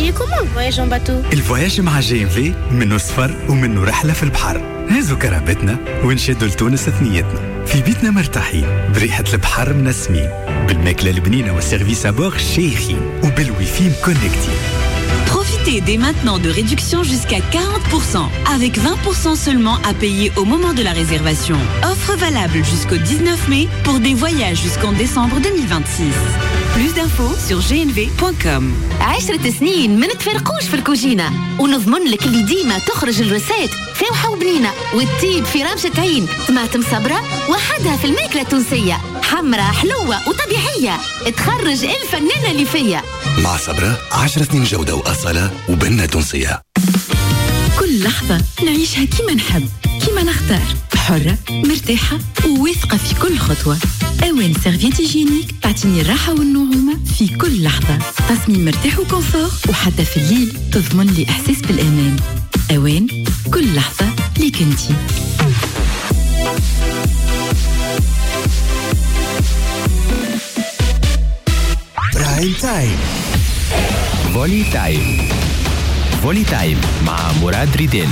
Il est comment le voyage en bateau؟ ال voyage مع GMV منه سفر ومنه رحلة في البحر. هزوا كرهبتنا ونشدوا لتونس ثنيتنا، في بيتنا مرتاحين، بريحة البحر منسمين، بالماكلة البنينة وال service à bord شيخين، وبالويفي مكونكتين. Profitez dès maintenant de réductions jusqu'à 40% avec 20% seulement à payer au moment de la réservation. Offre valable jusqu'au 19 mai pour des voyages jusqu'en décembre 2026. Plus d'infos sur gnv.com. 10 سنين ما نتفرقوش في الكوجينة، ونضمن لك اللي ديما تخرج ال recette فاوحة وبنينة وتطيب في رمشة عين. طماطم صبرة وحدها في الماكلة التونسية، حمرة حلوة وطبيعية، تخرج الفنانة اللي فيا. مع صبرة، 10 سنين جودة وأصالة وبنة تونسية. كل لحظة نعيشها كيما نحب، كيما نختار، حرة، مرتاحة وواثقة في كل خطوة. أوان serviette hygiénique تعطيني الراحة والنعومة في كل لحظة. تصميم مرتاح و confort، وحتى في الليل تضمن لي إحساس بالأمان. أوان، كل لحظة ليك انتي. Prime Time. Volley Time، Volley Time مع مراد ريدين.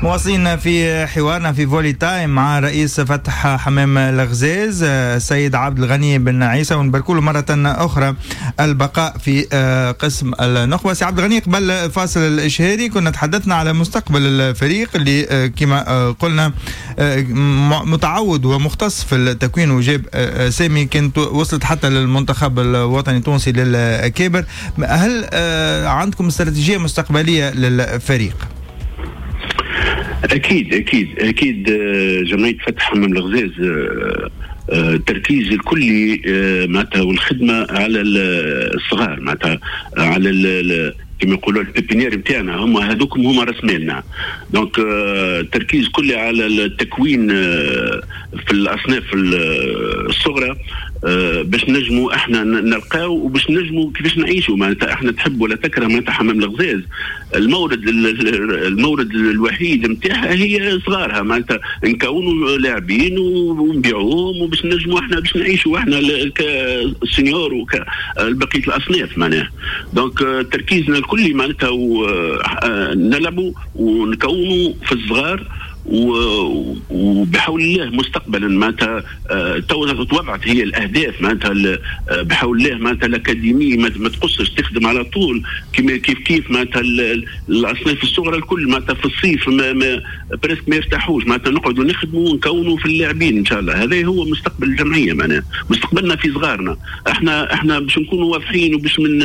مواصلين في حوارنا في Volley Time مع رئيس فتح حمام الغزاز السيد عبد الغني بن عيسى، ونبارك له مرة أخرى البقاء في قسم النخبة. سي عبد الغني، قبل الفاصل الإشهاري كنا تحدثنا على مستقبل الفريق اللي كما قلنا متعود ومختص في التكوين، وجاب أسامي كانت وصلت حتى للمنتخب الوطني التونسي للأكابر. هل عندكم استراتيجية مستقبلية للفريق؟ اكيد اكيد اكيد، جمعية فتح حمام الغزاز التركيز الكلي معناتها والخدمة على الصغار، معناتها على كما يقولوا ال pépinière نتاعنا، هما هذوكم هما راس مالنا. donc التركيز كلي على التكوين في الاصناف الصغرى باش نجموا احنا نلقاو وباش نجموا كيفاش نعيشوا. معناتها احنا تحب ولا تكره، معناتها حمام الغزاز المورد الوحيد نتاعها هي صغارها، معناتها نكونوا لاعبين ونبيعوهم وباش نجموا احنا باش نعيشوا احنا ك seniors وكبقيه الاصناف معناها. donc تركيزنا الكلي معناتها نلعبوا ونكونوا في الصغار، وبحول الله مستقبلا معناتها تو توضعت هي الاهداف، معناتها بحول الله معناتها l'académie ما تقصش، تخدم على طول كيما كيف كيف معناتها الاصناف الصغرى الكل، معناتها في الصيف ما presque ما يرتاحوش، معناتها نقعدوا نخدموا ونكونوا في اللاعبين. ان شاء الله هذا هو مستقبل الجمعيه، معناها مستقبلنا في صغارنا احنا. احنا باش نكونوا واضحين وباش من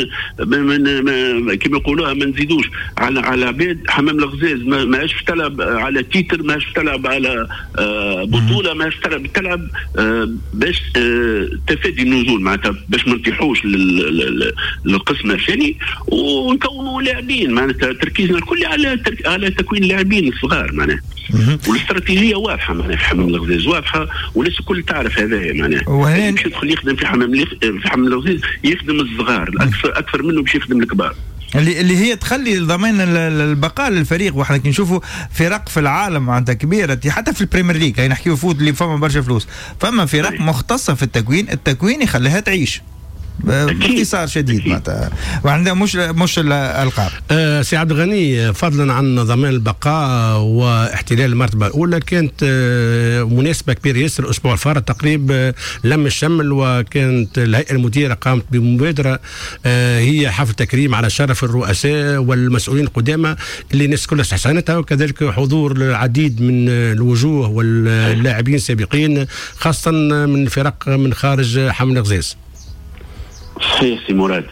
كما يقولوها ما نزيدوش على عباد، حمام الغزاز ماهاش تلعب على titre، ماهاش تلعب على بطوله، ماهاش تلعب باش تفادي النزول، معناتها باش ما نطيحوش للقسم الثاني ونكونوا لاعبين. معناتها تركيزنا الكلي على تكوين اللاعبين الصغار معناها، والاستراتيجيه واضحة معناها في حمام الغزاز واضحه، والناس الكل تعرف هذا معناها. باش يدخل يخدم في حمام الغزاز يخدم الصغار اكثر اكثر منه باش يخدم الكبار. اللي هي تخلي ضمان البقاء للفريق. واحنا كي نشوفوا فرق في العالم معناتها كبيره، حتى في ال Premier League، يعني نحكيو foot اللي فما برشا فلوس، فما فرق مختصة في التكوين، التكوين يخليها تعيش باختصار شديد معناتها، وعندها مش الالقاب. سي عبد الغني، فضلا عن ضمان البقاء واحتلال المرتبة الاولى، كانت مناسبة كبيرة ياسر الاسبوع الفارط تقريب، لم الشمل، وكانت الهيئة المديرة قامت بمبادرة هي حفل تكريم على شرف الرؤساء والمسؤولين القدامى اللي الناس كلها استحسنتها، وكذلك حضور العديد من الوجوه واللاعبين السابقين، خاصة من فرق من خارج حمام الغزاز. صحيح سي مراد،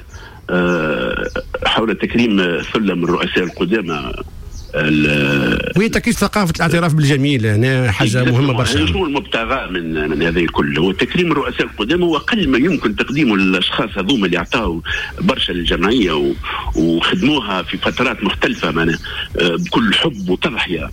حول تكريم ثلة من الرؤساء القدامى. وهي تكريس ثقافة الاعتراف بالجميل، هنا حاجة مهمة برشا. شنو المبتغى من هذا الكل؟ هو تكريم الرؤساء القدامى هو أقل ما يمكن تقديمه للأشخاص هذوما اللي عطاو برشا للجمعية وخدموها في فترات مختلفة معناها بكل حب وتضحية.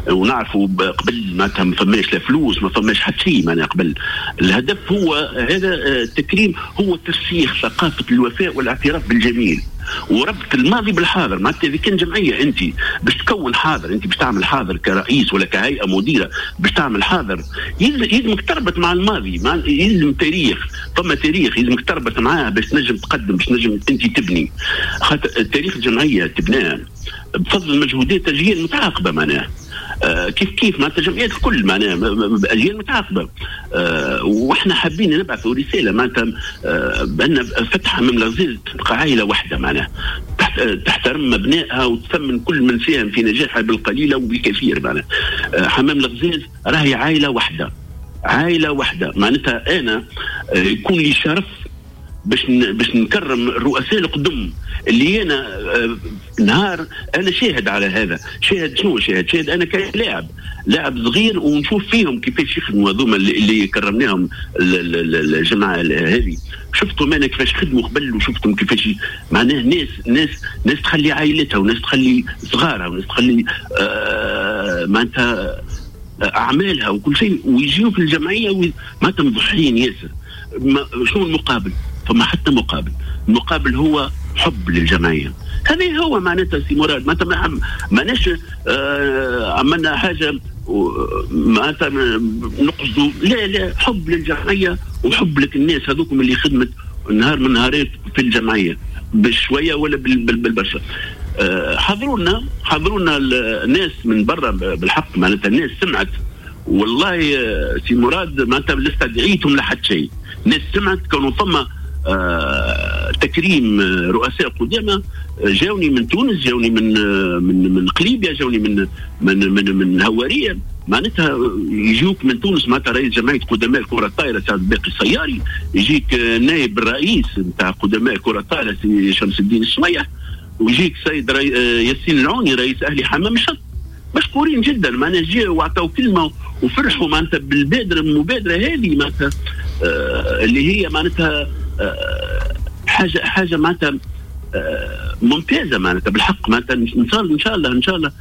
ونعرفوا قبل معناتها ما فماش لا فلوس، ما فماش حتى شيء معناها قبل. الهدف هو هذا التكريم هو ترسيخ ثقافة الوفاء والاعتراف بالجميل. وربط الماضي بالحاضر. معناتها اذا كان جمعية انت باش تكون حاضر، انت باش تعمل حاضر كرئيس ولا كهيئة مديره باش تعمل حاضر، يلزمك تربط مع الماضي، يلزم تاريخ، فما تاريخ يلزمك تربط معاه باش تنجم تقدم، باش تنجم انت تبني. خاطر تاريخ الجمعية تبناه بفضل مجهودات اجيال متعاقبه، معناها كيف كيف معناتها الجمعيات الكل معناها اجيال متعاقبه. واحنا حابين نبعثوا رسالة معناتها بان فتح حمام الغزاز تبقى عائلة واحدة، معناها تحترم ابنائها وتثمن كل من ساهم في نجاحها بالقليلة وبالكثير. معناها حمام الغزاز راهي عائلة واحدة، عائلة واحدة. معناتها انا يكون لي شرف باش نكرم الرؤساء القدم اللي انا نهار انا شاهد على هذا. شاهد شنو شاهد؟ شاهد انا كلاعب، لاعب صغير، ونشوف فيهم كيفاش يخدموا هذوما اللي كرمناهم الجماعة هذه. شفتهم انا كيفاش خدموا قبل، وشفتهم كيفاش معناه ناس ناس ناس تخلي عائلتها، وناس تخلي صغارها، وناس تخلي معناتها اعمالها وكل شيء، ويجيو في الجمعية معناتها مضحيين ياسر. شنو المقابل؟ فما حتى مقابل. المقابل هو حب للجمعية. هذا هو معناتها سي مراد، معناتها ماناش عملنا حاجة معناتها نقصدوا، لا لا، حب للجمعية وحب لك الناس هذوكم اللي خدمت نهار من نهارات في الجمعية بشوية ولا بالبرشا. حضروا لنا الناس من برا بالحق، معناتها الناس سمعت والله سي مراد، معناتها لسه دعيتهم لحد شيء. الناس سمعت كانوا ثم تكريم رؤساء قدامى، جاوني من تونس، جاوني من من من قليبيا، جاوني من من من من هواريه. معناتها يجوك من تونس معناتها رئيس جمعية قدماء الكره الطائرة سعد باقي السياري، يجيك نائب الرئيس نتاع قدماء الكره الطائرة سي شمس الدين السميح، ويجيك سيد ياسين العوني رئيس اهلي حمام الشط. مشكورين جدا، معناها جاوا وعطاو كلمة وفرحوا معناتها بالبادره، المبادرة هذه معناتها اللي هي معناتها حاجة معناتها ممتازة معناتها بالحق. معناتها ان شاء الله ان شاء الله ان شاء الله.